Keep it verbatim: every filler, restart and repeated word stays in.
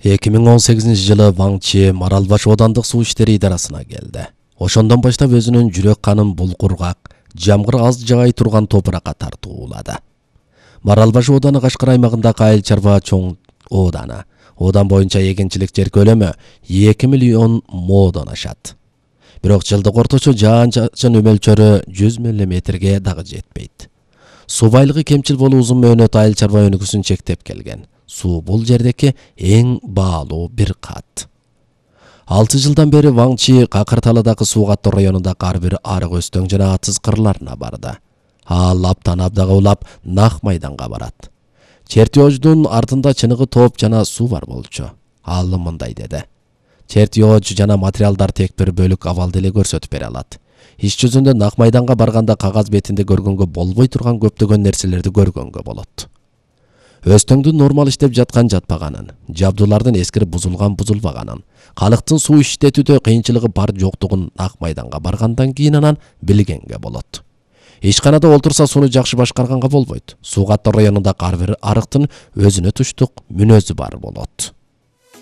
эки миң он сегизинчи жылы Ван Чи Маралбаш оодандык суу иштери идарасына келди. Ошондон баштап өзүнүн жүрөк канын бул кургак, жамгыр аз жаай турган топуракка тартуулады. Маралбаш ооданы Кашкар аймагындагы айыл чарба чоң ооданы. Одан боюнча эгенчилик жер көлөмү эки миллион моодон ашат. Бирок жылдык орточо жаан-чачын мөлчөрү жүз миллиметрге дагы жетпейт. Суу байлыгы кемчил болуу узун мөөнөт айыл чарба өнүгүүсүн чектеп келген. Суу бул жердеки эң баалуу бир кат. алты жылдан бери Ван Чи Какырталадагы суу каттоо районундагы ар бир арык өстөң жана атсыз кырларына барды. Ал аптан абдага улап Нак майданга барат. Чертеждун артында чыныгы топ жана суу бар болчу. Ал мындай деди. Чертеж жана материалдар тек бир бөлүк абалды эле көрсөтүп бере алат. Иш жүзүндө Нак майданга барганда кагаз бетинде көргөнгө болбой турган көптөгөн нерселерди көргөнгө болот. Өстөңдүн нормал иштеп жаткан жатпаганын, жабдуулардын эскирип бузулган бузулбаганын, калктын суу иштетүүдө кыйынчылыгы бар жоктугун Нак майданга баргандан кийин анан билгенге болот. Ишканада олтурса сууну жакшы башкарганга болбойт. Суу каттоо районундагы ар бир арыктын өзүнө туштук мүнөзү бар болот.